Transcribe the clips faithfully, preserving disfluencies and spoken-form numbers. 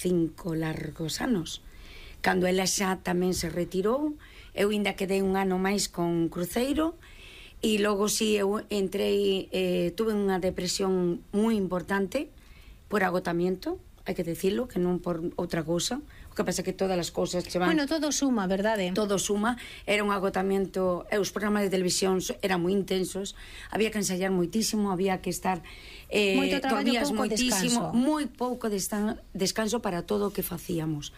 cinco largos anos. Cando ela xa tamén se retirou, eu ainda quedei un ano máis con cruceiro, e logo si eu entrei, eh, tuve unha depresión moi importante por agotamiento, hai que decirlo, que non por outra cousa. O que pasa que todas as cousas che van... Bueno, todo suma, verdade? Todo suma, era un agotamiento, e os programas de televisión eran moi intensos, había que ensayar moitísimo, había que estar... Eh, Moito traballo, pouco moitísimo, descanso. moi pouco descanso para todo o que facíamos.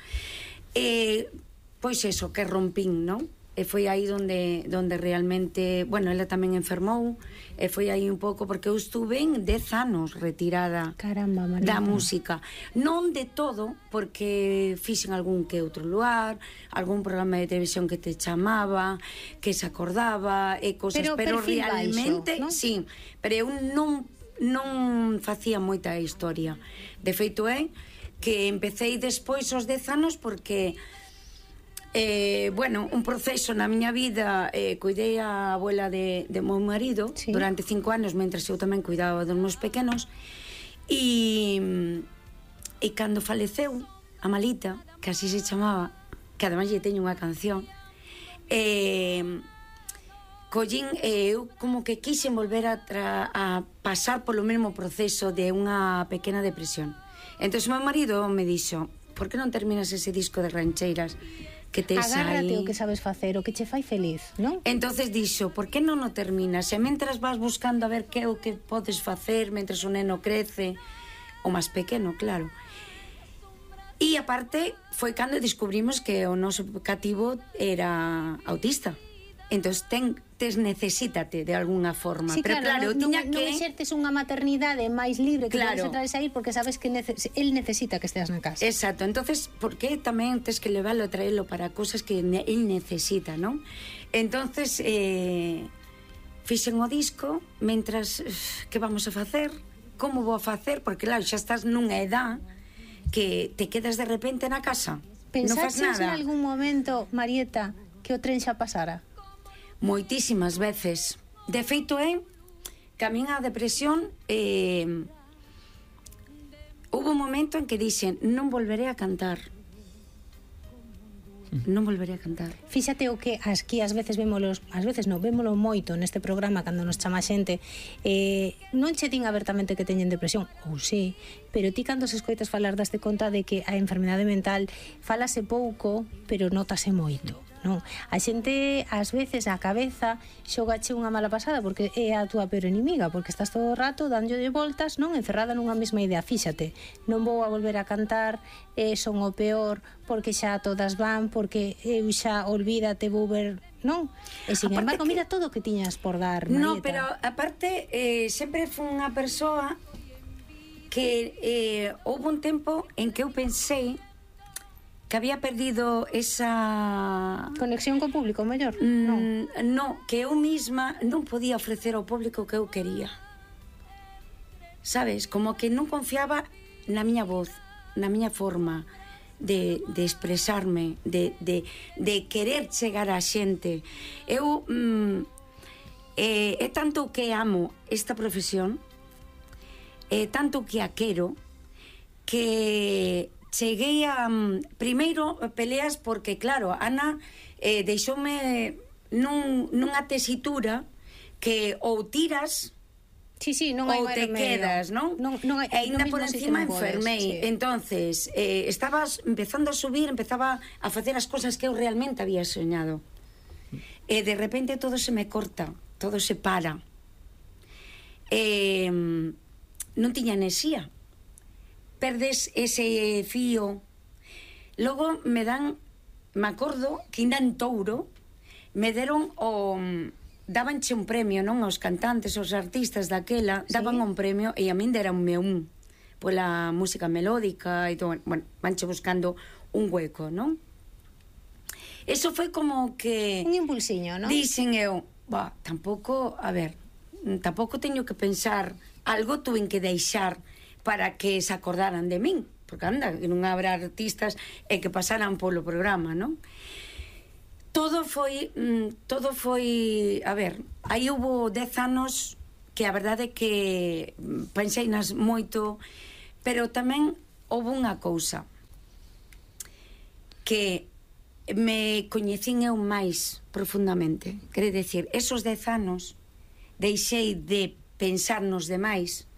Eh, pois eso, que rompín, non? E foi aí onde, onde realmente, bueno, ela tamén enfermou, e foi aí un pouco, porque eu estuve en dez anos retirada. Caramba, Marieta. Da música. Non de todo, porque fixen algún que outro lugar, algún programa de televisión que te chamaba, que se acordaba, e cosas, pero, pero realmente, baixo, ¿no? sí, pero eu non, non facía moita historia. De feito é que empecéi despois os dez anos porque... Eh, bueno, un proceso na miña vida, eh, cuidei a abuela de, de meu marido, sí, durante cinco anos, mentras eu tamén cuidaba dos meus pequenos, e e cando faleceu a Malita, que así se chamaba, que ademais lle teño unha canción, eh, collín, eh, eu como que quixen volver a, tra, a pasar polo mesmo proceso de unha pequena depresión. Entón meu marido me dixo: por que non terminas ese disco de rancheiras que tes aí? Agárrate o que sabes facer, o que che fai feliz, non? Entonces dixo, por que non o terminas? E mentras vas buscando a ver que é o que podes facer mentras o neno crece, o máis pequeno, claro. E aparte foi cando descubrimos que o noso cativo era autista. Entón ten, tes necesítate de alguna forma. Sí, pero claro, claro, non, tiña non, que... non exertes unha maternidade máis libre que claro, podes entrar e sair, porque sabes que nece el necesita que esteas na casa. Exacto, entonces, por que tamén tes que leválo e traelo para cosas que ne el necesita, non? Entonces, eh, fixen o disco, mentras, que vamos a facer? Como vou a facer? Porque claro, xa estás nunha edad que te quedas de repente na casa. Non fas Pensaches nada. en algún momento, Marieta, que o tren xa pasara? Moitísimas veces. De feito é que a min a depresión, eh, houve un momento en que dixen, non volveré a cantar, non volveré a cantar. Fíxate o que aquí ás veces vémolos, ás veces non, vémolo moito neste programa cando nos chama xente, eh, non che din abertamente que teñen depresión, ou sí, pero ti cando se escoitas falar daste conta de que a enfermidade mental falase pouco, pero notase moito. Non, a xente ás veces a cabeza xogache unha mala pasada porque é a túa peor enemiga, porque estás todo o rato dándolle voltas, non, encerrada nunha mesma idea. Fíxate, non vou a volver a cantar, eh, son o peor porque xa todas van, porque eu xa olvídate, vou ver, non? E sin Aparte embargo, que... mira todo o que tiñas por dar, Marieta. No, pero aparte eh, sempre foi unha persoa que eh, houve un tempo en que eu pensei que había perdido esa... Conexión co público, mellor? Mm, non. No, que eu misma non podía ofrecer ao público que eu quería. Sabes? Como que non confiaba na miña voz, na miña forma de, de expresarme, de, de, de querer chegar á xente. Eu... Mm, eh, é tanto que amo esta profesión, é tanto que a quero, que... cheguei a... Primeiro, peleas porque, claro, Ana eh, deixoume nun, nunha tesitura que ou tiras sí, sí, non hai ou te remedio. quedas, non? non, non hai, e ainda por non encima non podes, enfermei. sí. Entonces, eh, estabas empezando a subir, empezaba a facer as cosas que eu realmente había soñado. E de repente todo se me corta, todo se para. Eh, non tiña enerxía. Perdes ese fío. Logo me dan, me acordo que ainda en Touro me deron o dabanche un premio, non, aos cantantes, aos artistas daquela, sí, daban un premio e a min deranme un pola música melódica e todo, bueno, vanche buscando un hueco, non? Eso foi como que un impulsiño, non? Dixen eu, bah, tampouco, a ver, tampouco teño que pensar, algo tuve que deixar para que se acordaran de min, porque anda, que non habrá artistas e que pasaran polo programa, non? Todo foi, mm, todo foi, a ver, aí hubo dez anos que a verdade é que pensei nas moito, pero tamén houve unha cousa, que me coñecín eu máis profundamente. Quere decir, esos dez anos deixei de pensar nos demais,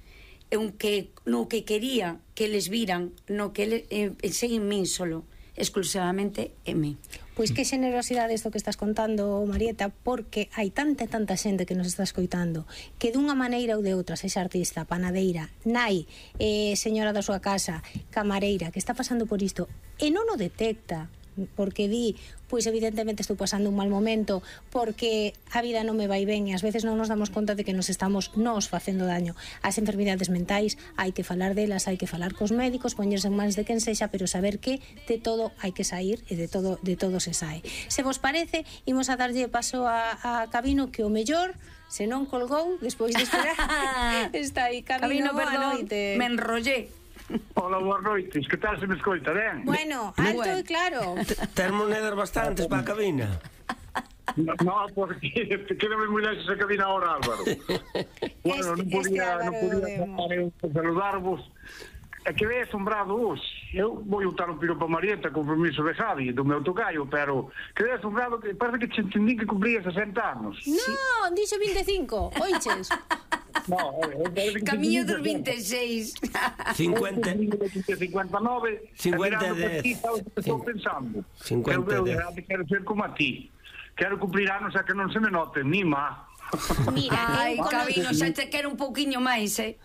en que, no que quería que eles viran, no que ele, eh, pensei en min solo, exclusivamente en mí. Pois que generosidade isto que estás contando, Marieta, porque hai tanta e tanta xente que nos está escoitando que dunha maneira ou de outra, sexa artista, panadeira, nai, eh, señora da súa casa, camareira, que está pasando por isto e non o detecta, porque di, pois evidentemente estou pasando un mal momento, porque a vida non me vai ben e ás veces non nos damos conta de que nos estamos nos facendo daño. As enfermidades mentais hai que falar delas, hai que falar cos médicos, poñerse en mans de quen sexa, pero saber que de todo hai que sair e de todo de todo se sae. Se vos parece, imos a darlle paso a, a Cabino, que o mellor, se non colgou, despois de esperar, está aí. Cabino, Cabino, perdón, noite. me enrollé. Hola, boas noites, que tal se me escoita, ben? Bueno, alto e claro. Ter monedas bastantes para a cabina. No, no, porque quédame moi lexos a cabina ahora, Álvaro. Bueno, non podía, non podía pasar eu por saludarvos. É que é asombrado hoxe. Eu vou botar un piropo a Marieta con permiso de Javi, do meu tocayo, pero que é asombrado que parece que te entendí que cumpría sesenta anos. Non, dixo vinte e cinco, oiches. No, Camiño dos vinte e seis. cincuenta cincuenta e nove. cincuenta e dez. Estou pensando. cincuenta e dez. Eu quero ser como a ti. Quero cumplir anos a que non se me note, ni má. Mira, Ai, Cabino, xa te quero un pouquiño máis, eh?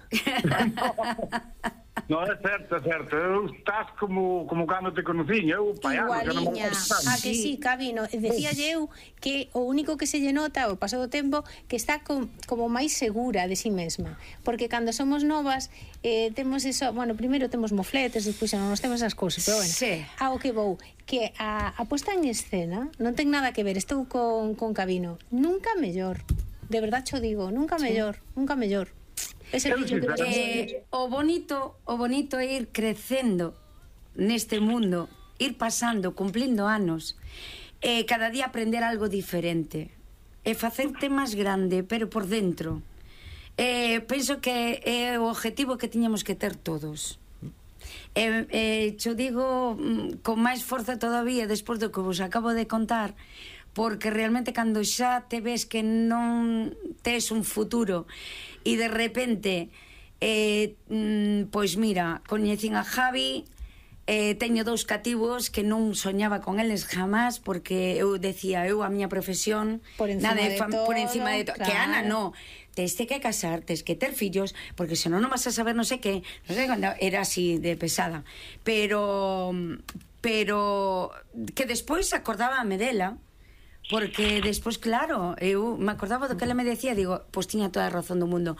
No, é certo, é certo. Eu estás como, como cando te conocín. Eu, paiano, igualiña, a que sí, Cabino. Decíalle eu que o único que se lle nota ao paso do tempo que está com, como máis segura de si mesma, porque cando somos novas eh, temos eso, bueno, primeiro temos mofletes, despois xa non nos temos as cousas, pero bueno, Sí. ao que vou, que a, a posta en escena non ten nada que ver, estou con, con Cabino, nunca mellor, de verdad cho digo, nunca mellor, nunca mellor. Ese Eu dicho que sí, Eh, o bonito, o bonito é ir crecendo neste mundo, ir pasando, cumplindo anos, e eh, cada día aprender algo diferente, e facerte máis grande, pero por dentro. Eh, penso que é o objetivo que tiñamos que ter todos. E eh, cho digo mm, con máis forza todavía despois do que vos acabo de contar, porque realmente cando xa te ves que non tes un futuro e de repente eh, mm, pois mira, coñecín a Javi, eh, teño dous cativos que non soñaba con eles jamás, porque eu decía, eu a miña profesión Por encima nada de fam- todo, por encima de todo, claro. que Ana no, tes que casar, tes que ter fillos, porque senón non vas a saber non sei que, non sei cando era así de pesada, pero pero que despois acordábame dela, porque despois, claro, eu me acordaba do que ela me decía, digo, pois tiña toda a razón do mundo.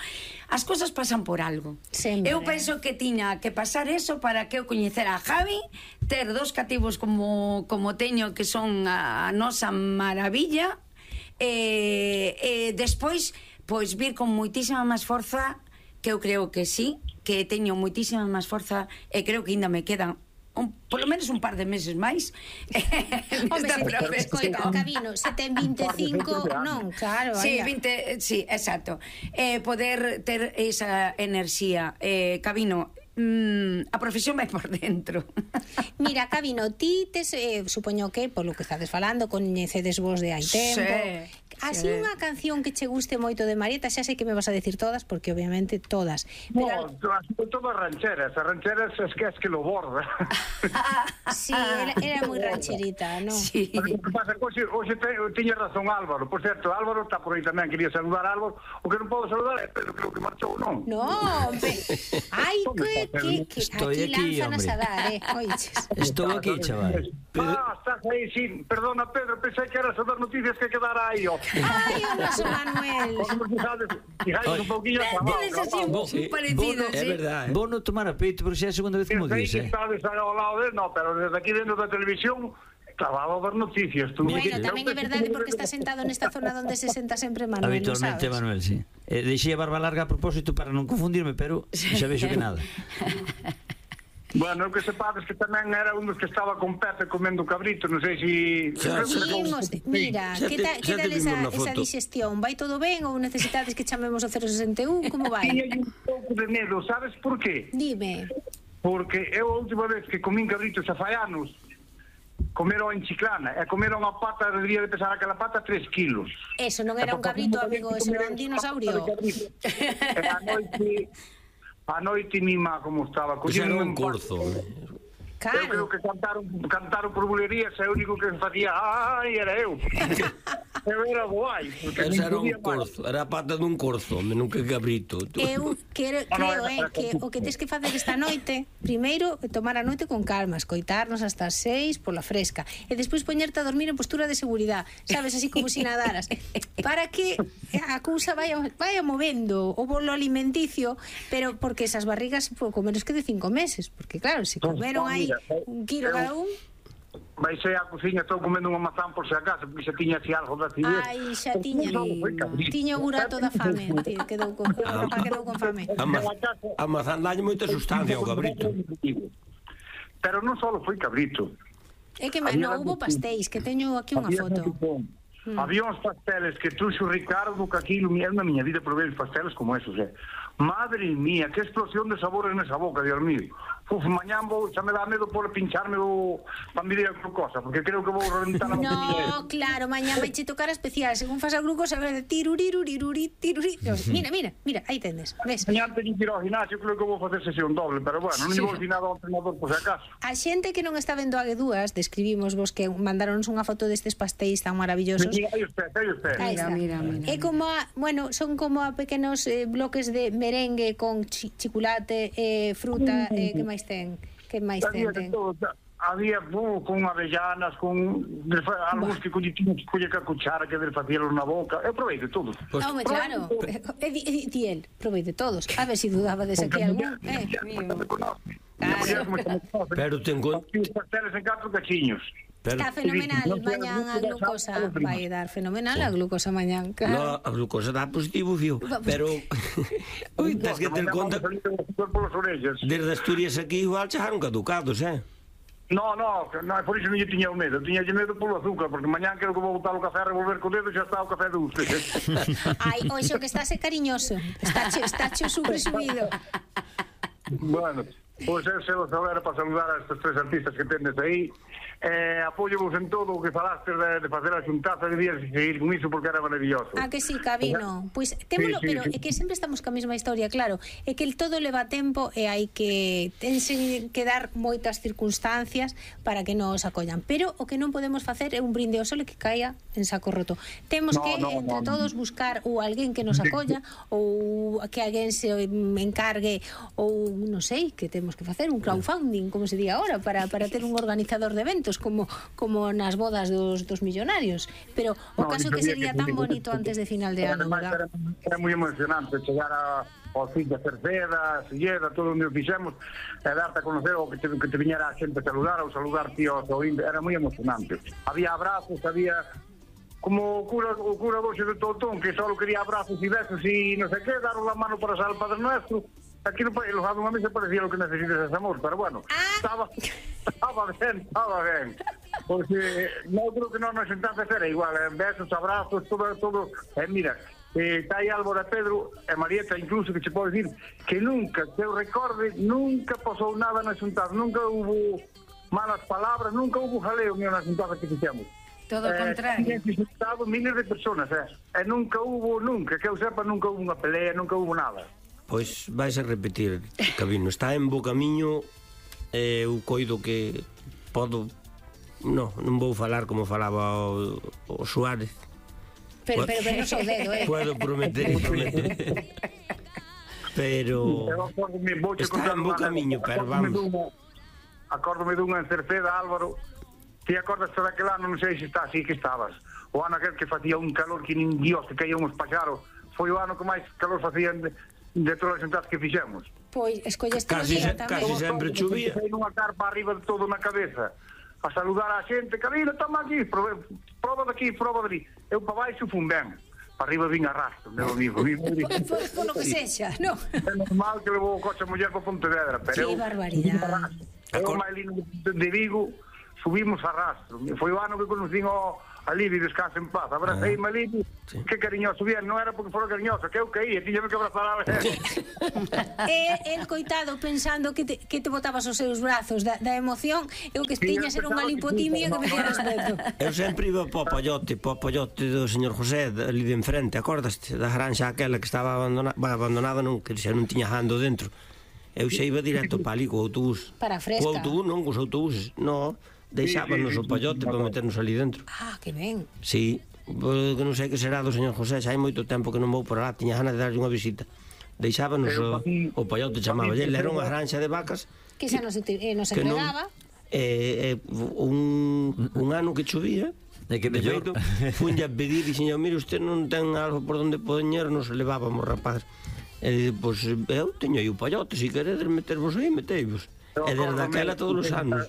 As cousas pasan por algo. Sempre. Eu penso que tiña que pasar eso para que eu coñecera a Javi, ter dos cativos como, como teño, que son a, a nosa maravilla, e, e despois, pois vir con moitísima máis forza, que eu creo que sí, que teño moitísima máis forza, e creo que ainda me quedan un, por lo menos un par de meses máis. Hombre, se te, escoita, Cabino, se ten vinte e cinco, non, claro, Sí, anda. vinte, sí, exacto. Eh, poder ter esa enerxía. Eh, Cabino, mm, a profesión vai por dentro. Mira, Cabino, ti tes, eh, supoño que, polo que estades falando, coñecedes vos de hai tempo. Sí, Así sí. unha canción que che guste moito de Marieta, xa sei que me vas a decir todas, porque obviamente todas. No, Pero, todas rancheras. As rancheras es que es que lo borda. sí, era, era moi rancherita, non? Sí. Pero o que pasa, hoxe, hoxe te, tiña razón Álvaro. Por certo, Álvaro está por aí tamén, quería saludar a Álvaro. O que non podo saludar é Pedro, creo que marchou, non? No, hombre. Ai, que, que, que Estoy aquí, aquí, lánzanas hombre. a dar, eh, oiches. Estou aquí, chaval. Ah, estás aí, sí. Perdona, Pedro, pensei que eras a dar noticias que quedara aí, ó. Ai, o noso Manuel. Como fijades, fijades un pouquinho a Tenes así trabajo. un parecido, É sí. verdade. Vou non tomar a peito, pero xa é a segunda vez que mo Sei dice. que estades ao lado de, no, pero desde aquí dentro da televisión clavado a ver noticias. Tú. Bueno, tamén é verdade porque está sentado nesta zona onde se senta sempre Manuel, non Habitualmente, sabes? Manuel, sí. Eh, deixei a barba larga a propósito para non confundirme, pero xa vexo que nada. Bueno, eu que sepades que tamén era un dos que estaba con Pepe comendo cabrito, non sei se... Xa, xa. Imos, mira, Xa que te- tal, que xa te tal vimos esa, na esa foto. digestión? Vai todo ben ou necesitades que chamemos o cero sesenta e un? Como vai? Tiña un pouco de medo, sabes por qué? Dime. Porque eu a última vez que comín cabrito xa fai anos, comeron en Chiclana, e comeron a pata, debería de pesar aquela pata tres kilos. Eso non era un cabrito, amigo, eso era un dinosaurio. E a noite, a noite mima como estaba. Pois era un empate. corzo. Eu creo que cantaron, cantaron por bulerías e o único que facía ai, era eu. Eu era guai. Ese era un corzo, era a pata dun corzo, non que cabrito. Eu quero, creo, eh, que o que tens que facer esta noite, primeiro, tomar a noite con calma, escoitarnos hasta as seis pola fresca, e despois poñerte a dormir en postura de seguridade, sabes, así como si nadaras, para que a cousa vaya, vaya movendo o bolo alimenticio, pero porque esas barrigas pouco menos que de cinco meses, porque claro, se comeron aí un kilo cada un. Vai ser a cociña, estou comendo unha mazán por se acaso, porque xa tiña así algo da acidez. Ai, xa tiña, tiña o burato da fame, quedou con, quedou con fame. A, ma a mazán dalle moita sustancia ao cabrito. Pero non só foi cabrito. É que me, non hubo pastéis, que teño aquí unha foto. Mm. Había uns pasteles que truxo Ricardo, que aquí eu na miña vida probei os pasteles como esos, eh. Madre mía, que explosión de sabores nesa boca, Dios mío. Uf, mañán vou, xa me dá medo por pincharme o pandilla de glucosa, porque creo que vou reventar a botella. No, claro, mañán vai che tocar a especial, según fas a glucosa, vai de tiruriruriruri, tiruri. Mira, mira, mira, aí tendes, ves? Mañán teño que ir ao gimnasio, creo que vou facer sesión doble, pero bueno, non vou dicir nada ao entrenador por se acaso. A xente que non está vendo a Guedúas, describimos vos que mandaronnos unha foto destes pastéis tan maravillosos. Mira, aí usted, aí usted. Mira, mira, mira. É como a, bueno, son como a pequenos eh, bloques de merengue con chi chocolate, eh, fruta, eh, que máis ten? Que máis ten? ten? Había uh, con avellanas, con algúns que tiñan que coller ca cuchara que del facíalo na boca. Eu provei de todo. Pues, Home, claro. E di, di, di el, provei de todos. A ver se si dudabades aquí algún. Eh, Pero ten con... Os pasteles en catro cachiños. Pero... Está fenomenal, mañán a glucosa vai dar fenomenal a glucosa mañán, claro. No, a glucosa dá positivo, fío, pero ui, tens que ter conta desde Asturias aquí igual chegaron caducados, eh? No, no, no, por iso non lle tiña o medo, tiña lle medo polo azúcar, porque mañán creo que vou botar o café a revolver co dedo e xa está o café dulce. Ai, oixo que estás cariñoso, está che, está che super subido. Bueno, pois eu se vos era para saludar a estes tres artistas que tendes aí. Eh, apoio vos en todo o que falaste de, de facer a xuntaza, debías seguir con iso porque era maravilloso. Ah, que sí, Cabino. Pois pues, témolo, sí, sí, pero sí. É que sempre estamos ca mesma historia, claro. É que el todo leva tempo e hai que tense que dar moitas circunstancias para que nos acollan. Pero o que non podemos facer é un brinde ao sol e que caia en saco roto. Temos no, que, no, entre no, todos, buscar ou alguén que nos acolla ou que alguén se encargue ou, non sei, que temos que facer un crowdfunding, como se di agora, para, para ter un organizador de eventos como como nas bodas dos, dos millonarios, pero o no, caso que sería tan bonito antes de final de ano, ¿verdad? Era, era moi emocionante chegar a, ao fin de Cerceda, Silleda, todo onde o fixemos, e darte a conocer o que te, que te viñera a xente a saludar ou saludar tíos, era moi emocionante. Había abrazos, había como o cura, o cura doxe de Totón, que só quería abrazos e besos e non sei que, dar la mano para sal Padre Nuestro. Aquí no país, los a mí se parecía lo que necesitas es amor, pero bueno, ah. estaba, estaba bien, estaba bien. Porque no creo que no nos sentase era igual, eh, besos, abrazos, todo, todo. Eh, mira, eh, está aí Álvaro e Pedro, e Marieta incluso, que se pode decir que nunca, que eu recorde, nunca pasou nada na xuntada, nunca hubo malas palabras, nunca hubo jaleo na xuntada que fixemos. Todo o contrario. Eh, visitado miles de personas, eh, e nunca hubo, nunca, que eu sepa, nunca hubo unha pelea, nunca hubo nada. Pois vais a repetir, Cabino, está en bo camiño, eh, eu coido que podo, no, non vou falar como falaba o, o Suárez. Pero, pero, pero non sou dedo, eh. Puedo prometer e prometer. Pero está en bo camiño, pero vamos. Acórdome dunha en Cerceda, Álvaro, ti acordas de aquel ano, non sei se está así que estabas, o ano aquel que facía un calor que nin Dios, que caía uns paxaros, foi o ano que máis calor facían de de todas as xuntas que fixemos. Pois, escolleste casi, se, casi sempre chovía. Hai unha carpa arriba de todo na cabeza a saludar a xente, Cabino, toma aquí, prova, prova daqui, prova dali. Eu para baixo fun ben, para arriba vin arrastro, meu amigo. Por lo que sexa, non? É normal que levou o coche a muller para Pontevedra, pero que barbaridade. eu máis lindo de Vigo subimos a rastro. Foi o ano que conocín o a Libi, descansa en paz. Abracei a Libi, sí. Que cariñoso bien, non era porque fora cariñoso, que eu caí, tiñame que abrazar a ver. E el coitado pensando que te, que te botabas os seus brazos da, da emoción, eu que tiña ser unha lipotimia que me dio respeto. Eu sempre iba para o pollote, para o pollote do señor José, ali de enfrente, acordaste? Da granxa aquela que estaba abandonada, bueno, abandonada non, que xa non tiña jando dentro. Eu xa iba directo para ali co autobús. Para a fresca. Co autobús, non, cos autobuses, non. Deixábanos o pollote para meternos ali dentro. Ah, que ben. Sí, que non sei que será do señor José, xa hai moito tempo que non vou por lá, tiña ganas de darlle unha visita. Deixábanos o, o pollote, chamaba, ele era unha granxa de vacas que xa nos, eh, nos que non, empregaba. Eh, eh, un, un ano que chovía, e que mellor funlle a pedir, dixen, mire, usted non ten algo por onde poñer, nos levábamos, rapaz. E, pois, eu teño aí o pollote, se queredes metervos aí, meteivos. E desde aquela todos os anos.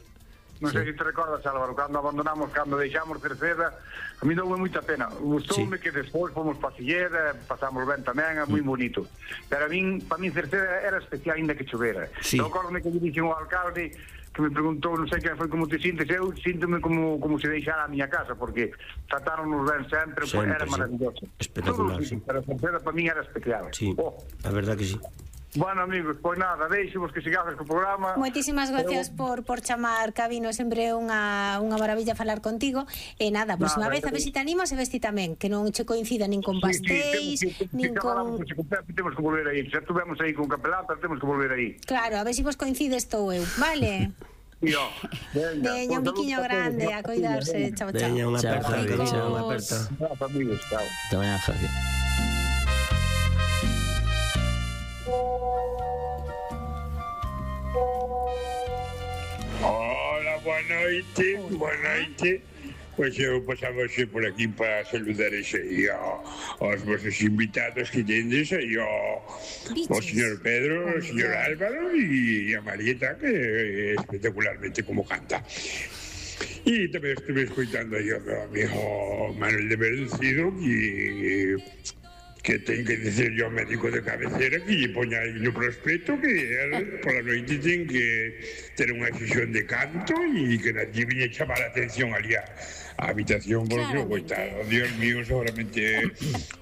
Non sei se te recordas, Álvaro, cando abandonamos, cando deixamos Cerceda, a mí doume moita pena. Gustoume sí. Que despois fomos pa Silleda, pasamos ben tamén, é moi bonito. Pero a min, para min Cerceda era especial ainda que chovera. Sí. Eu acordo-me que dixen o alcalde que me preguntou, non sei que foi como te sintes, eu síntome como, como se deixara a miña casa, porque tratáronos ben sempre, sempre era sí. Maravilloso. Espectacular, sí. Pero Cerceda para min era especial. Sí, oh. A verdad que sí. Bueno, amigos, pois nada, deixemos que sigades co programa. Moitísimas gracias Pero... por, por chamar, Cabino, sempre unha, unha maravilla falar contigo. E nada, a próxima vez a ver se te animas e ves ti tamén, que non che coincida nin con pastéis, sí, sí, nin con... Temos que volver aí, xa estuvemos aí con capelán, pero temos que volver aí. Claro, a ver se vos coincides estou eu, vale? Yo, veña, veña, un biquiño grande, a cuidarse, chao, chao. Veña, unha aperta, veña, unha aperta. Chao, amigos, chao. Te veña, Javi. Hola, boa noite, boa noite. Pois eu pasaba xe por aquí para saludar ese aí aos vosos invitados que tendes aí ao, ao señor Pedro, ao señor Álvaro e a Marieta, que espectacularmente como canta. E tamén estuve escoitando aí ao meu amigo Manuel de Verducido que que ten que dicer yo ao médico de cabecera que lle poña aí no prospecto que él pola noite ten que ter unha sesión de canto e que nadie viña chamar a atención ali a, a habitación porque o coitado, Dios mío, seguramente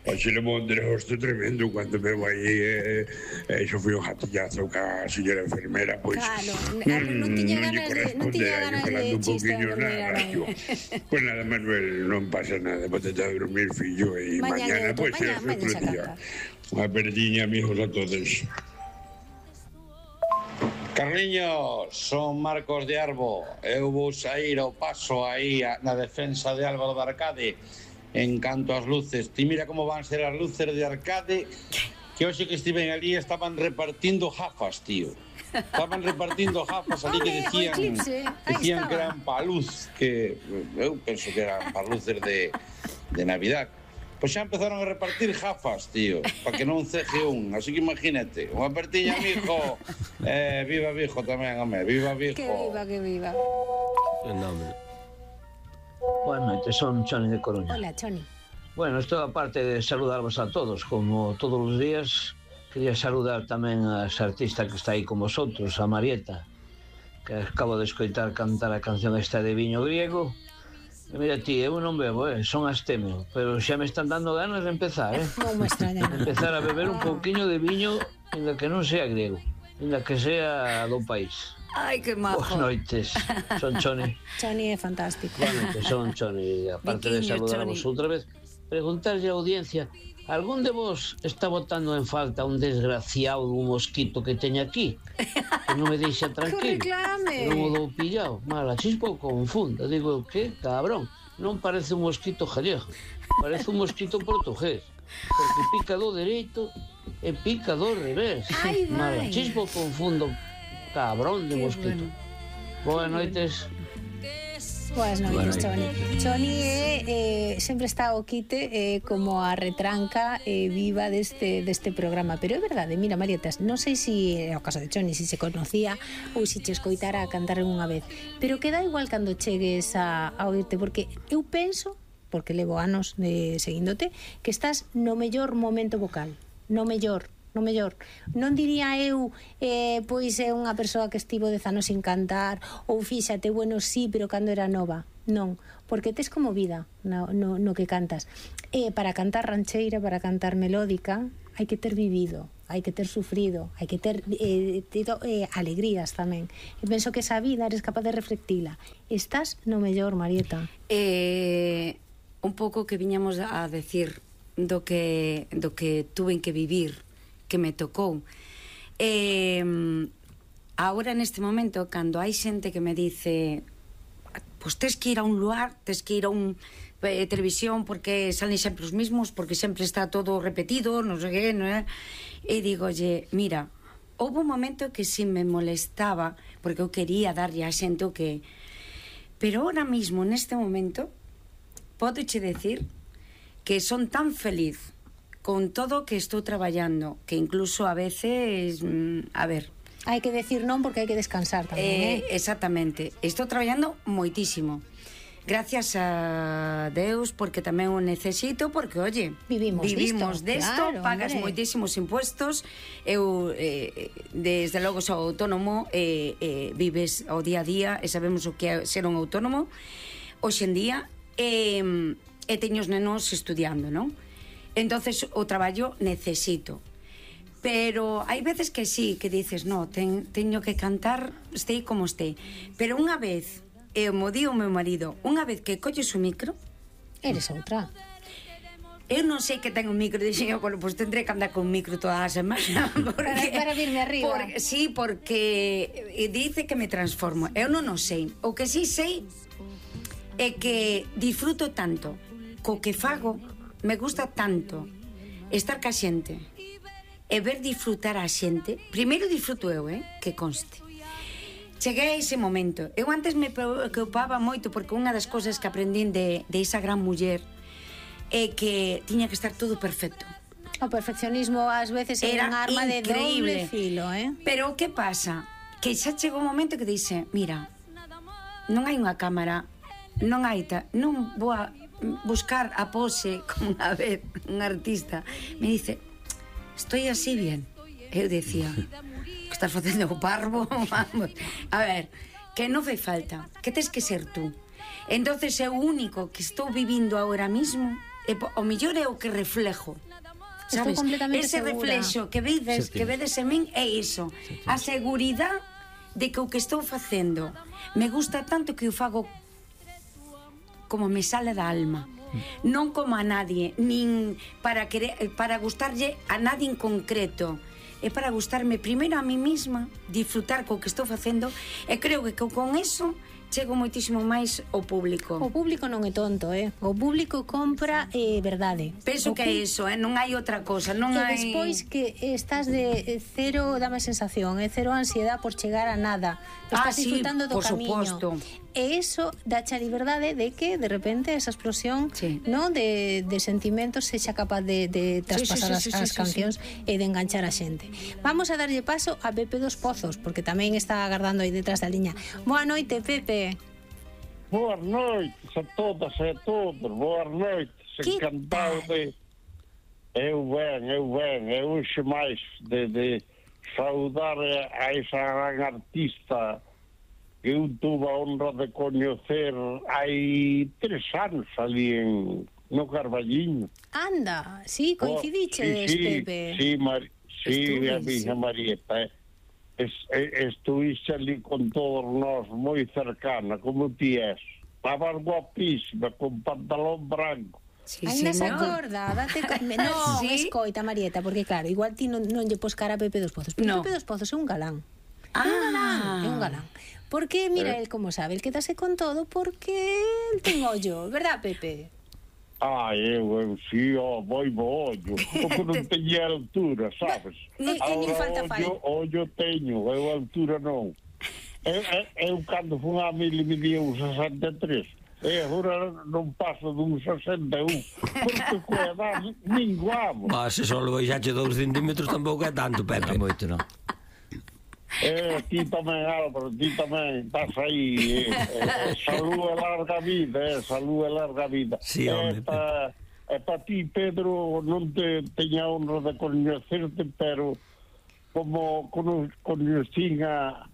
hoxe le vou un desgosto tremendo cando me vai e eh, iso foi un jatillazo ca señora enfermera, pois claro, non tiña ganas de non tiña ganas de chiste nada, pois nada, Manuel, non pasa nada, bótate a dormir, fillo, e mañana, pois é outro día. Unha perdiña, amigos, a todos. Carliños, son Marcos de Arbo. Eu vou sair ao paso aí na defensa de Álvaro de Arcade en canto ás luces. Ti mira como van ser as luces de Arcade, que hoxe que estiven ali estaban repartindo jafas, tío. Estaban repartindo jafas ali que decían, decían que eran pa luz, que eu penso que eran pa luces de, de Navidad. Pois xa empezaron a repartir jafas, tío, para que non ceje un. Así que imagínate, unha pertiña, mijo. Eh, viva Vigo tamén, home, viva Vigo. Que viva, que viva. Boas noites, son Choni de Coruña. Hola, Choni. Bueno, isto aparte de saludarvos a todos, como todos os días, quería saludar tamén a esa artista que está aí con vosotros, a Marieta, que acabo de escoitar cantar a canción esta de Viño Griego. E mira ti, eu non bebo, eh, son astemio, pero xa me están dando ganas de empezar, eh? Non me extraña. Empezar a beber un pouquiño de viño, ainda que non sea griego, ainda que sea do país. Ai, que majo. Boas noites, son Choni. Choni é fantástico. Boas noites, son Choni. Aparte de saludarvos outra vez, preguntarlle á audiencia, algún de vos está botando en falta un desgraciado un mosquito que teña aquí? Que non me deixa tranquilo. Que reclame. Non o dou pillado. Mala chispa confunda. Digo, que cabrón. Non parece un mosquito gallego. Parece un mosquito portugués. Porque pica do dereito e pica do revés. Ai, Mala chispa confundo. Cabrón de mosquito. Boas noites. Boas noites, Choni. Choni é, eh, sempre está o quite eh, como a retranca eh, viva deste, deste programa. Pero é verdade, mira, Marietas, non sei se é o caso de Choni, se se conocía ou se che escoitara a cantar unha vez, pero queda igual cando chegues a, a oírte, porque eu penso, porque levo anos de seguíndote, que estás no mellor momento vocal, no mellor. no mellor. Non diría eu, eh, pois é unha persoa que estivo dez anos sin cantar, ou fíxate, bueno, sí, pero cando era nova. Non, porque tes como vida no, no, no que cantas. E para cantar rancheira, para cantar melódica, hai que ter vivido, hai que ter sufrido, hai que ter eh, tido eh, alegrías tamén. E penso que esa vida eres capaz de reflectila. Estás no mellor, Marieta. Eh, un pouco que viñamos a decir do que, do que tuve que vivir, que me tocou. Eh, agora, neste momento, cando hai xente que me dice pois tes que ir a un lugar, tes que ir a un eh, televisión porque salen sempre os mismos, porque sempre está todo repetido, non sei que, non é? E digolle, mira, houve un momento que si me molestaba, porque eu quería darlle a xente o que... Pero ahora mismo, neste momento, podoche decir que son tan feliz con todo o que estou traballando, que incluso a veces, mm, a ver... Hai que decir non porque hai que descansar tamén, eh? eh exactamente. Estou traballando moitísimo. Gracias a Deus, porque tamén o necesito, porque, oye, vivimos, vivimos desto, claro, pagas hombre. moitísimos impuestos, eu, eh, desde logo, sou autónomo, eh, eh, vives ao día a día, e sabemos o que é ser un autónomo, hoxe en día, e, e teño os nenos estudiando, non? Entonces, o traballo necesito. Pero hai veces que sí, que dices, no, ten, teño que cantar, estei como estei. Pero unha vez, e mo di o meu marido, unha vez que colles o micro, eres outra. Eu non sei que ten un micro, dixen eu, bueno, pois pues tendré que andar con un micro toda a semana. Porque, para, para virme arriba. Por, sí, porque dice que me transformo. Eu non o sei. O que sí sei é que disfruto tanto co que fago, me gusta tanto estar ca xente e ver disfrutar a xente. Primeiro disfruto eu, eh, que conste. Cheguei a ese momento. Eu antes me preocupaba moito porque unha das cousas que aprendín de, de esa gran muller é que tiña que estar todo perfecto. O perfeccionismo ás veces é un arma de doble filo, eh? Pero o que pasa? Que xa chegou un momento que dice, mira, non hai unha cámara, non hai ta, non vou a buscar a pose como unha vez un artista me dice, estoy así bien. Eu decía, que estás facendo o parvo? Vamos. A ver, que non fai falta, que tes que ser tú. Entonces é o único que estou vivindo agora mismo, e o mellor é o que reflejo. Sabes? Ese segura. reflexo que vedes, que vedes en min é iso. A seguridade de que o que estou facendo me gusta tanto que o fago como me sale da alma. Non como a nadie, nin para querer, para gustarlle a nadie en concreto. É para gustarme primeiro a mí misma, disfrutar co que estou facendo, e creo que con eso chego moitísimo máis ao público. O público non é tonto, eh? O público compra eh, verdade. Penso o que é iso, eh? Non hai outra cosa, non e hai... E despois que estás de cero, dame sensación, é cero ansiedade por chegar a nada. Estás ah, disfrutando sí, do por camiño. Suposto. E iso dache a liberdade de que, de repente, esa explosión sí. no, de, de sentimentos sexa capaz de, de traspasar sí, sí, sí, as, as sí, cancións sí, sí. e de enganchar a xente. Vamos a darlle paso a Pepe dos Pozos, porque tamén está agardando aí detrás da liña. Boa noite, Pepe. Boas noites a todas e a todos. Boas noites. Encantado de... Eu ben, eu ben. Eu hoxe máis de, de saudar a esa gran artista que eu tuve a honra de coñecer hai tres anos ali en, no Carballiño. Anda, sí, coincidiches, oh, sí, Pepe. Sí, Mar, sí, a miña Marieta, eh. Es, estuviste ali con todos nós moi cercana, como ti és. Estabas guapísima, con pantalón branco. Sí, ainda se acorda, date co... Non, ¿sí? Escoita, Marieta, porque claro, igual ti non, non lle pos cara a Pepe dos Pozos, pero no. Pepe dos Pozos é un galán. Ah. É un galán, é un galán. Porque, mira, eh. el como sabe, el quedase con todo porque el ten ollo, verdad, Pepe? Ah, eu, eu, sí, oh, moi bo ollo. Porque non teña altura, sabes? E, e nin falta fai. Ollo teño, eu altura non. Eu, eu, eu cando fui a mil e medía un sesenta e tres. E agora non paso dun sesenta e un. Porque coa edad minguamos. Bah, se só baixache dous centímetros tampouco é tanto, Pepe. Moito, non? Eh, ti tamén, Álvaro, ti tamén estás aí. Eh, eh, salud e larga vida, eh, salud e larga vida. Sí, hombre. Esta, E para ti, Pedro, non te teña honra de coñecerte, pero como coñecín a,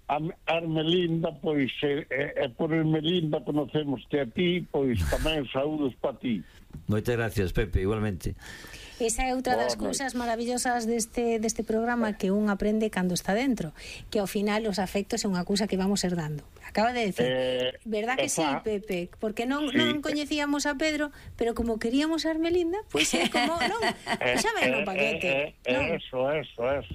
a Ermelinda, pois e, e por Ermelinda conocemoste a ti, pois tamén saúdos para ti. Moitas gracias, Pepe, igualmente. Esa é outra das cousas maravillosas deste, deste programa que un aprende cando está dentro, que ao final os afectos é unha cousa que vamos herdando. Acaba de decir, eh, verdad que sí, Pepe? Porque non, sí. non coñecíamos a Pedro, pero como queríamos a Ermelinda, pois pues é como, non, xa ven no paquete. Eh, eh, non? Eso, eso, eso.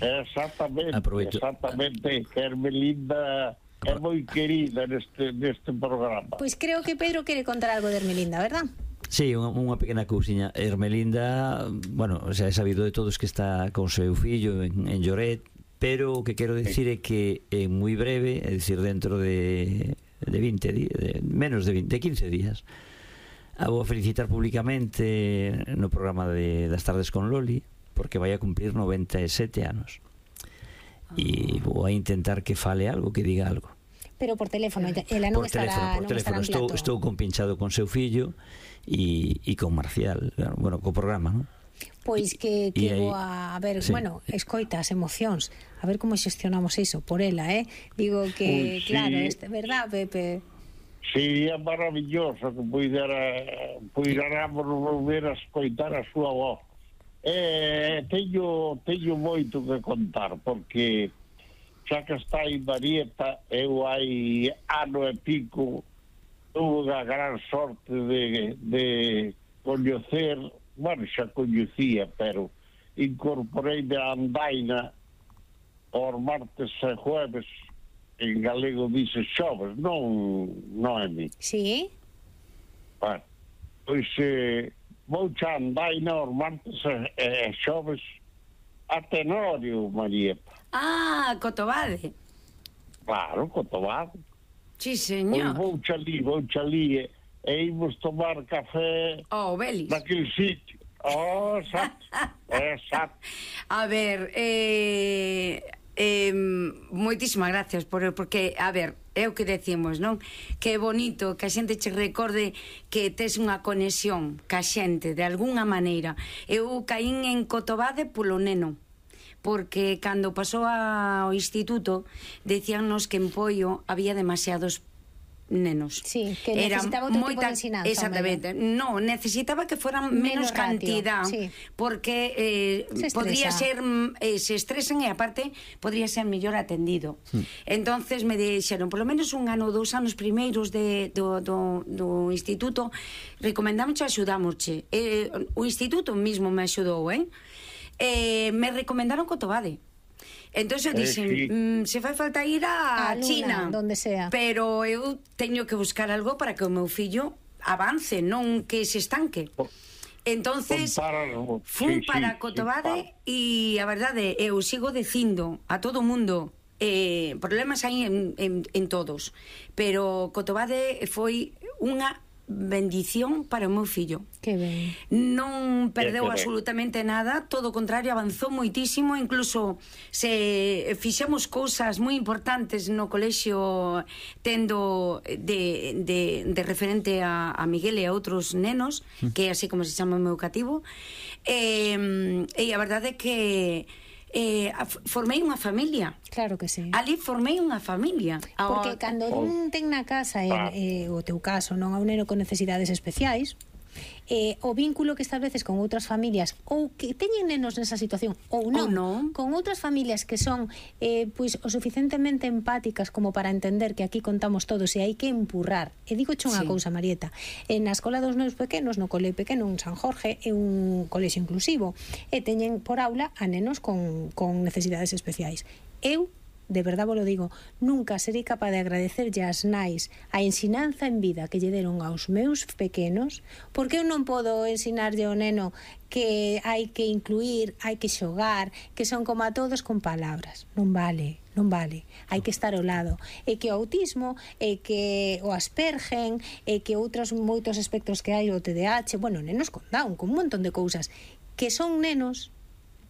Exactamente, Aprovecho. exactamente, que Ermelinda é moi querida neste, neste programa. Pois pues creo que Pedro quere contar algo de Ermelinda, verdad? Sí, unha, unha pequena cousiña. Ermelinda, bueno, xa é sabido de todos que está con seu fillo en, en Lloret, pero o que quero dicir é que é moi breve, é dicir, dentro de, de vinte días, de, menos de vinte, de quince días, a vou felicitar públicamente no programa de, das tardes con Loli, porque vai a cumplir noventa e sete anos. E vou a intentar que fale algo, que diga algo. Pero por teléfono, ela non por estará, teléfono, por non teléfono. estará en Estou, plato. estou compinchado con seu fillo e, e con Marcial, bueno, co programa, non? Pois que, que aí, vou a, a ver, sí. bueno, escoita as emocións, a ver como xestionamos iso por ela, eh? Digo que, Uy, sí. claro, este, verdad, Pepe? Sería maravilloso que puidera puidéramos volver a escoitar a súa voz. Eh, teño, teño moito que contar, porque xa que está aí Marieta, eu hai ano e pico tuve a gran sorte de, de coñecer, bueno, xa coñecía, pero incorporei de andaina os martes e jueves, en galego dice xoves, non, non é mi. Sí? Bueno, pois eh, vou xa andaina os martes e, e xoves a Tenorio, Marieta. Ah, Cotobade. Claro, Cotobade. Sí, Pois señor. vou xa ali, vou xa ali e, e imos tomar café Oh, Belis. naquele sitio. Oh, exacto, exacto. A ver, eh, eh, moitísimas gracias por, porque, a ver, é o que decimos, non? Que é bonito que a xente che recorde que tes unha conexión ca xente de algunha maneira. Eu caín en Cotobade polo neno, porque cando pasou ao instituto decíannos que en Poio había demasiados nenos. Sí, que necesitaba outro tipo de ensinanza. Exactamente. No, necesitaba que fueran menos, Menos cantidad, ratio, sí. porque eh, Se podría estresa. ser eh, se estresan e aparte podría ser mellor atendido. Hmm. Entonces me dixeron, polo menos un ano, dous anos primeiros de, do, do, do instituto, recomendámoche, axudámoche. Eh, o instituto mismo me axudou, eh? eh me recomendaron Cotobade. Entón eu dixen, Eh, sí. mm, se fai falta ir a, A Luna, China, donde sea. pero eu teño que buscar algo para que o meu fillo avance, non que se estanque. Entonces Compáralo. fun Sí, para sí, Cotobade e a verdade eu sigo dicindo a todo o mundo, eh, problemas hai en, en, en todos, pero Cotobade foi unha bendición para o meu fillo. Que ben. Non perdeu Que ben. absolutamente nada, todo o contrario, avanzou moitísimo, incluso se fixemos cousas moi importantes no colexio tendo de, de, de referente a, a Miguel e a outros nenos, que é así como se chama o meu cativo, e, e a verdade é que eh, formei unha familia. Claro que sí. Ali formei unha familia. Porque cando un ten na casa, en, eh, o teu caso, non, a un neno con necesidades especiais, eh, o vínculo que estableces con outras familias ou que teñen nenos nesa situación ou non, Ou non. con outras familias que son eh, pois o suficientemente empáticas como para entender que aquí contamos todos e hai que empurrar. E digo che unha Sí. cousa, Marieta, en na escola dos nenos pequenos, no cole pequeno, un San Jorge, é un colexio inclusivo e teñen por aula a nenos con, con necesidades especiais. Eu de verdade vos lo digo, nunca serei capaz de agradecerlle ás nais a ensinanza en vida que lle deron aos meus pequenos, porque eu non podo ensinarlle ao neno que hai que incluir, hai que xogar, que son como a todos con palabras. Non vale, non vale. Hai que estar ao lado. E que o autismo, e que o Aspergen, e que outros moitos aspectos que hai, o T D A H, bueno, nenos con Down, con un montón de cousas, que son nenos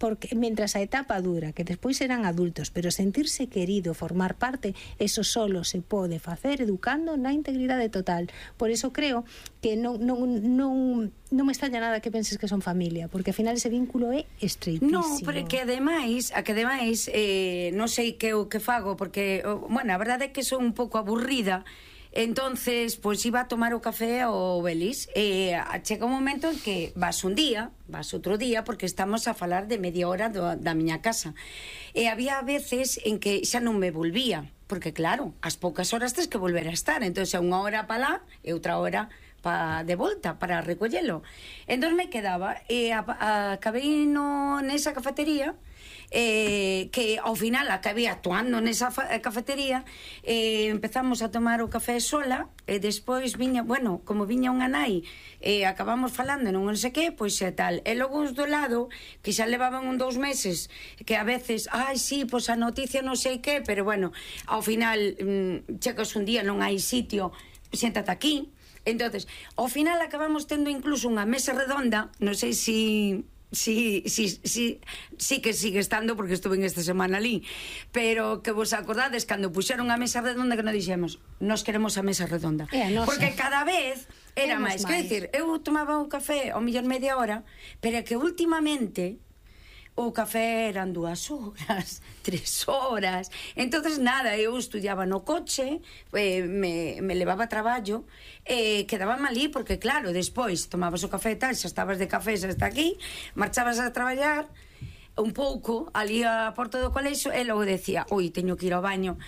porque mientras a etapa dura, que despois serán adultos, pero sentirse querido, formar parte, eso solo se pode facer educando na integridade total. Por eso creo que non, non, non, non me extraña nada que penses que son familia, porque ao final ese vínculo é estreitísimo. No, pero que ademais, a que ademais eh, non sei que o que fago, porque, bueno, a verdade é que son un pouco aburrida. Entonces, pois iba a tomar o café ao Belis e chega un momento en que vas un día, vas outro día, porque estamos a falar de media hora do, da miña casa. E había veces en que xa non me volvía, porque claro, ás poucas horas tens que volver a estar, entón xa unha hora para lá e outra hora pa, de volta para recollelo. Entón me quedaba e a, a, acabei no, nesa cafetería, eh, que ao final acabei actuando nesa cafetería, eh, empezamos a tomar o café sola e despois viña, bueno, como viña unha nai e eh, acabamos falando non sei que, pois é tal, e logo os do lado que xa levaban un dous meses que a veces, ai sí, pois a noticia non sei que, pero bueno, ao final mmm, chegas un día non hai sitio, siéntate aquí. Entonces, ao final acabamos tendo incluso unha mesa redonda, non sei si Sí, sí, sí, sí que sigue estando porque estuve en esta semana ali, pero que vos acordades cando puxeron a mesa redonda que nos dixemos, nos queremos a mesa redonda, porque cada vez era máis, quer dicir, eu tomaba un café ao millón media hora, pero que últimamente o café eran dúas horas, tres horas. Entonces nada, eu estudiaba no coche, eh, me, me levaba a traballo, eh, quedaba malí, porque claro, despois tomabas o café e tal, xa estabas de café, xa está aquí, marchabas a traballar un pouco, ali a porta do colexo, e logo decía, oi, teño que ir ao baño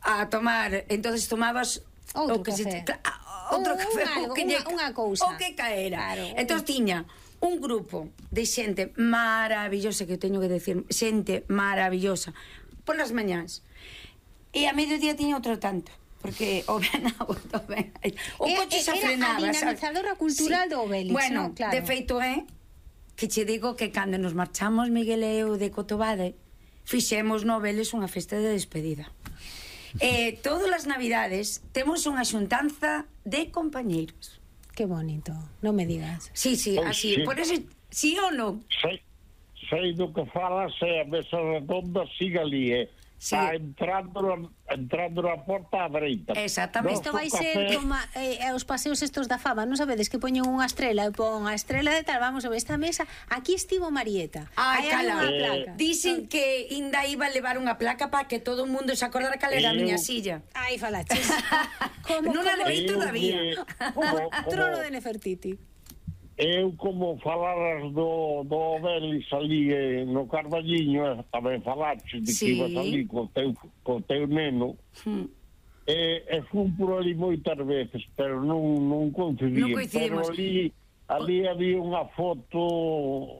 a tomar, entonces tomabas outro o que café, se, ah, outro un, café, un algo, o que, unha, unha cousa, o que caera, claro, entonces tiña un grupo de xente maravillosa, que eu teño que decir, xente maravillosa polas mañás, e a mediodía tiña outro tanto, porque o ben auto, ben o coche xa frenaba, era a dinamizadora cultural sí. do Obélix, bueno, no? Claro. de feito é que che digo que cando nos marchamos Miguel e eu de Cotobade fixemos no Obélix unha festa de despedida. Eh, todas as navidades temos unha xuntanza de compañeiros. Qué bonito, non me digas. Sí, sí, Pois así, sí. por eso, sí ou non? Sei, sei do que falas, é a mesa redonda, siga ali, eh. Sí. Está entrando, entrando na porta á dereita. Exactamente. Isto vai ser como eh, os paseos estos da fama, non sabedes que poñen unha estrela e pon a estrela de tal, vamos a ver esta mesa, aquí estivo Marieta. Ai, cala, unha placa. Dicen que Inda iba a levar unha placa para que todo o mundo se acordara cal era a miña silla. Ai, falaches. Como, non a levei todavía. Como trono de Nefertiti. Eu, como falaras do, do Obélix ali eh, no Carballiño, tamén falaches de Sí. que ibas ali co teu, co teu neno, Hmm. e, e fun por ali moitas veces, pero non, non coincidí. Non coincidimos. Pero ali, ali había unha foto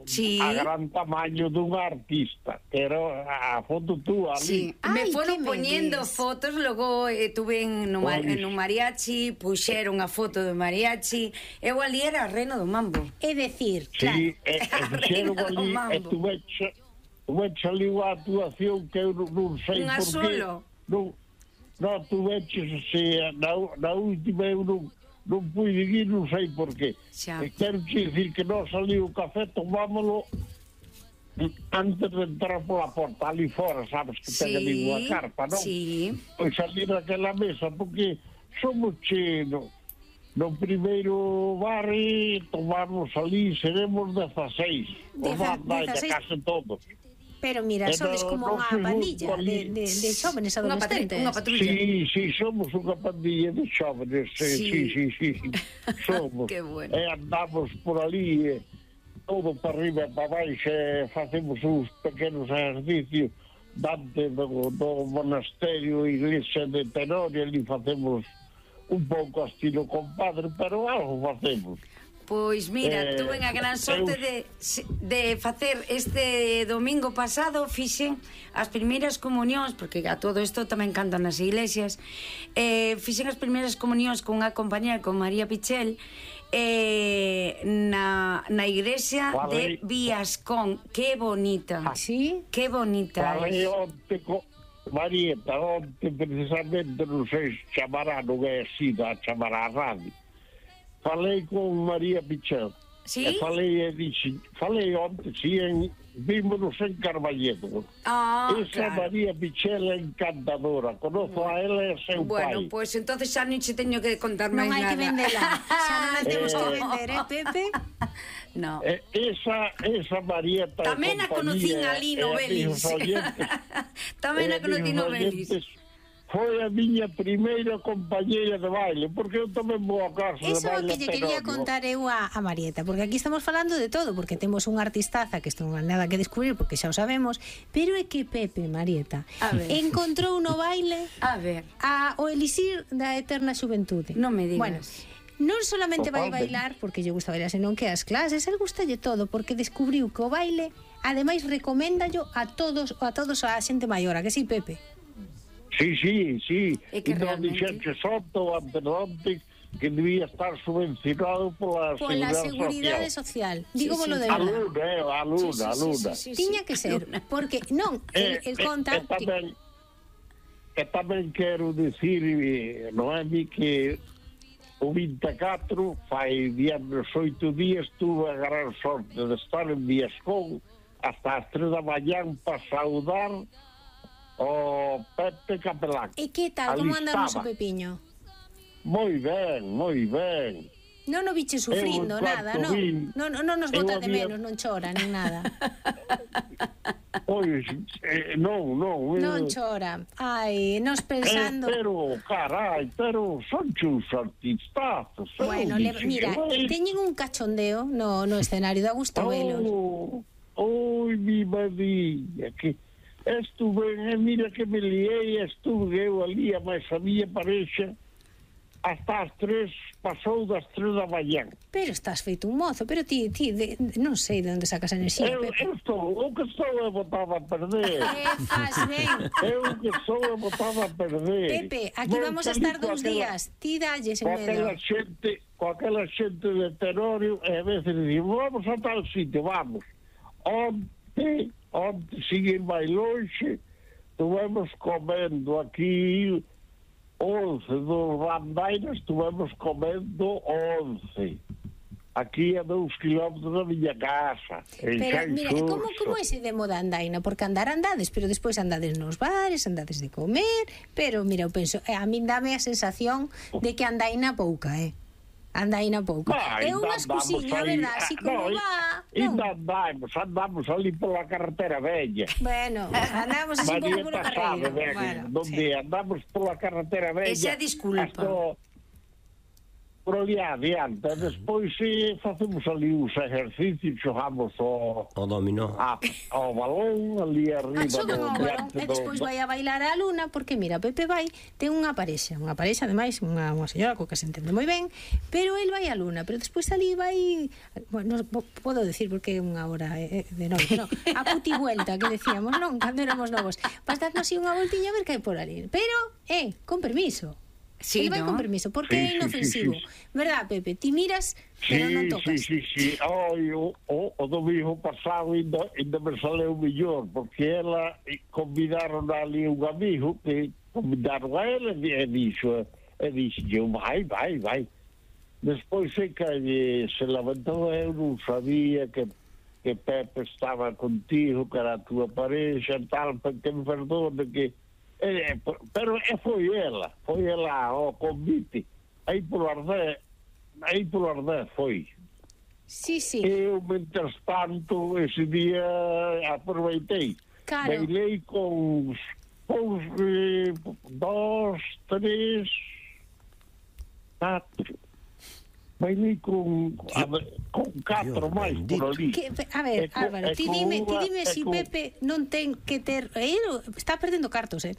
Sí. a gran tamaño dun artista, que era a foto túa Sí, ali. me Ai, foron que me poñendo dis? fotos, logo eh, tuve en no, Pois. en un mariachi, puxeron a foto do mariachi, eu ali era reno do mambo. É decir, Sí, claro. e, e fixeron Reina do ali, e mambo. tuveche, tuveche ali unha actuación que eu non, non sei Unha por qué. solo? Non, non tuveche, se, na, na última eu non, non pude ir, non sei por qué. Xa. E quero dicir que non saliu o café, tomámolo antes de entrar pola porta, ali fora, sabes que ten ali unha carpa, non? Sí. Pois ali naquela mesa, porque somos che, no, no primeiro bar e tomamos ali, seremos dezaseis, o Deza- bar vai de dezaseis. case todos. Pero mira, Pero sodes como non unha se pandilla busca de, ali. de, de xóvenes Unha patrulla, adolescentes. unha patrulla. Sí, sí, somos unha pandilla de xóvenes, sí, Sí. sí, sí, sí, sí. somos. Qué bueno. E andamos por ali, e todo para arriba e para baixo, e facemos uns pequenos exercicios dante do, do monasterio, iglesia de Tenorio, ali facemos un pouco estilo compadre, pero algo facemos. Pois mira, Eh, tuve a gran sorte eu- de, de facer este domingo pasado, fixen as primeiras comunións, porque a todo isto tamén cantan nas iglesias, eh, fixen as primeiras comunións con unha compañera, con María Pichel, eh, na, na iglesia de Falei. Viascón. Que bonita. Sí? Que bonita Falei é. onte co Marieta, onte precisamente, non sei se chamará, non é así, a chamará a radio. Falei con María Pichel. Sí? E falei, e dixen, falei onte, si, en, vímonos en Carballedo. Ah, Esa claro. María Pichela encantadora, conozco a ela e a seu Bueno, pai. pois pues, entonces xa non che teño que contar máis Non hai nada. que vendela. Xa non a temos que Eh. vender, eh, Pepe? No. E esa, esa Marieta Tamén a conocín ali no Belis. Tamén a conocín no Belis. Foi a miña primeira compañeira de baile, porque eu tamén vou a casa Eso de é o baile. que lle quería Perón, contar eu a, a Marieta, porque aquí estamos falando de todo, porque temos unha artistaza que isto non hai nada que descubrir, porque xa o sabemos, pero é que Pepe, Marieta, A ver. encontrou no baile A ver, a, o elixir da eterna xuventude. non me digas. Bueno, non solamente vai Totalmente. bailar porque lle gusta bailar, senón que as clases, el gustalle todo, porque descubriu que o baile, ademais, recoméndallo a todos, a todos a xente maior, a que sí, Pepe? Sí, sí, sí. É que E non realmente- dixerche soto anteriormente que debía estar subvencionado pola, Pola Seguridade seguridade Social. social. Digo Sí, volo sí. de A verdade. luna, eh, a luna, a luna. sí, sí, Tiña sí. que ser, porque non, el, el Eh, conta eh, e tamén, e tamén quero dicir, eh, Noemi, que o vinte e catro, fai viernes oito días, tuve a gran sorte de estar en Viascón hasta as tres da mañán para saudar o Pepe Capelán. E que tal, Ali como andamos o estaba. Pepiño? Moi ben, moi ben. Non o biche sufrindo, Eu, en nada, cuanto non? vi- Non, non nos eu bota de había- menos, non chora, nin nada. Pois, eh, non, non. eh, Non chora. Ai, nos pensando... Eh, pero, carai, pero son chus artistazos. eu Bueno, le, dixen mira, que, teñen un cachondeo no, no escenario, da gusto velos. Oh, oi, mi madriña, que estuve, eh, mira que me liei, estuve eu ali, a máis a miña parexa, hasta as tres, pasou das tres da mañán. Pero estás feito un mozo, pero ti, ti de, de, non sei de onde sacas a enerxía, Eu, Pepe. eu estou, o que estou é botado a perder. Eh, faz ben. Eu que estou é botado a perder. Pepe, aquí Non vamos a salí estar coa dous aquela- días. Ti dalles en Coa aquela medo. xente, coa aquela xente de Tenorio, e a veces dicimos, vamos a tal sitio, vamos. Onte, onte, siguen máis longe, estuvemos comendo aquí once dos bandairas, estuvemos comendo once. Aquí a dous kilómetros da miña casa, en Pero, mira, Xanxurxo. como, como ese de moda andaina? Porque andar andades, pero despois andades nos bares, andades de comer, pero, mira, eu penso, eh, a min dame a sensación de que andaina pouca, eh? Andaina pouca. Ah, É ainda unha andamos excusiña, aí. verdad? Así Ah, como no, va, non? Ainda andamos, andamos ali pola carretera bella. Bueno, andamos así un pouco por Marieta sabe, carreira. ben, Bueno, donde sí. andamos pola carretera bella. Esa disculpa. hasta por ali adiante. Despois eh, facemos ali uns exercicios, xogamos o, O dominó. a, ao balón ali arriba. Ah, xogan ao balón diante e do- despois do- vai a bailar a luna porque mira, Pepe vai, ten unha parexa, unha parexa ademais, unha, unha señora co que se entende moi ben, pero el vai a luna, pero despois ali vai, bueno, non po- podo decir porque é unha hora eh, de noite, non, a puti vuelta que decíamos, non, cando éramos novos, vas darnos así unha voltiña a ver que hai por ali, pero, eh, con permiso. Sí, el vai ¿no? con permiso, porque Sí, é sí, inofensivo, sí, sí. verdad, Pepe? Ti miras, pero Sí, non sí, tocas. sí, sí. Ai, o, o, o domingo pasado ainda, ainda me saleu mellor, porque ela eh, convidaron ali un amigo que convidaron a ela e dixo, e dixo, eu, vai, vai, vai. Despois sei que eh, se levantou, eu non sabía que, que Pepe estaba contigo, que era a tua parexa e tal, que me perdone que... Eh, pero eh, foi ela, foi ela ao convite, aí polo Ardé, aí polo Ardé foi. Sí, sí. Eu, mientras tanto, ese día aproveitei. Claro. Bailei con uns eh, dos, tres, catro. Bailei con, a ver, con catro Dios máis bendito. por ali. Que, a ver, E co- Álvaro, e ti co dime, ti unha- dime e si co- Pepe non ten que ter... Eh, está perdendo cartos, eh?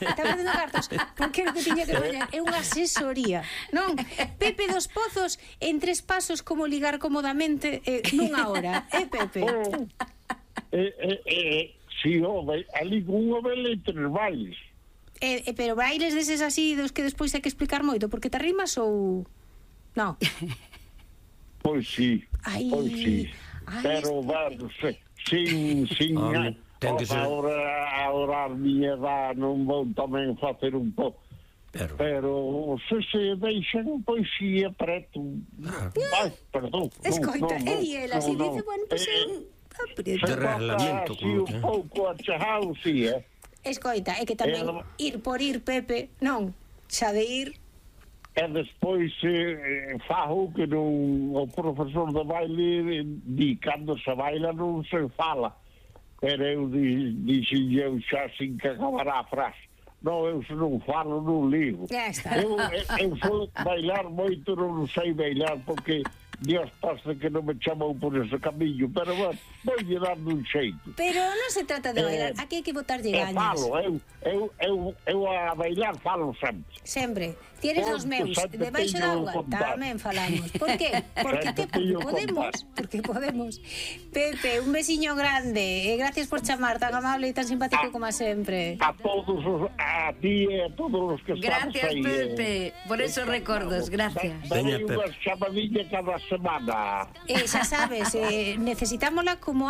Está perdendo cartos, porque é o que tiña que fazer é unha asesoría, non? Pepe dos Pozos en tres pasos como ligar cómodamente eh, nunha hora, eh, Pepe? Oh, eh, eh, eh, si, oh, vai- ali con unha vela e tres bailes. Eh, eh, pero bailes deses así dos que despois hai que explicar moito, porque te rimas ou... Non. Pois sí, Ai, pois sí. ai, Pero, este- bueno, se, sin, sin, Home, ten que ser- ahora, ahora a miña edad non vou tamén facer un pouco. Pero, pero se se deixan poesía preto. Ah. Ai, perdón. Escoita, no, no, e di ela, si no, dice, no. bueno, pues Eh, eu aprieto. de reglamento, así como un que... pouco achajado, sí, eh. Escoita, é que tamén Eh, no- ir por ir, Pepe, non, xa de ir, E despois eh, fajo que non, o profesor de baile di cando se baila non se fala. Pero eu di, dixen eu xa sin que acabará a frase. Non, eu se non falo non ligo. Ya está. Eu, eu, eu sou bailar moito, non sei bailar porque Dios pasa que non me chamou por ese camiño, pero bueno, vou lle dando un xeito. pero non se trata de bailar, Eh, aquí hai que botarlle E gañas. falo, eu, eu, eu, eu a bailar falo sempre. Sempre. Ti eres Eu, dos meus, sempre debaixo teño da auga, contar. tamén falamos. Por qué? Porque, te, Sempre teño porque podemos, contar. porque podemos. Pepe, un besiño grande, e gracias por chamar, tan amable e tan simpático como sempre. A todos os, a ti e a todos os que estamos Gracias, aí. Pepe, por esos recordos, gracias. Darei Veña, Pepe. unha chamadilla cada semana. Eh, xa sabes, eh, necesitámola como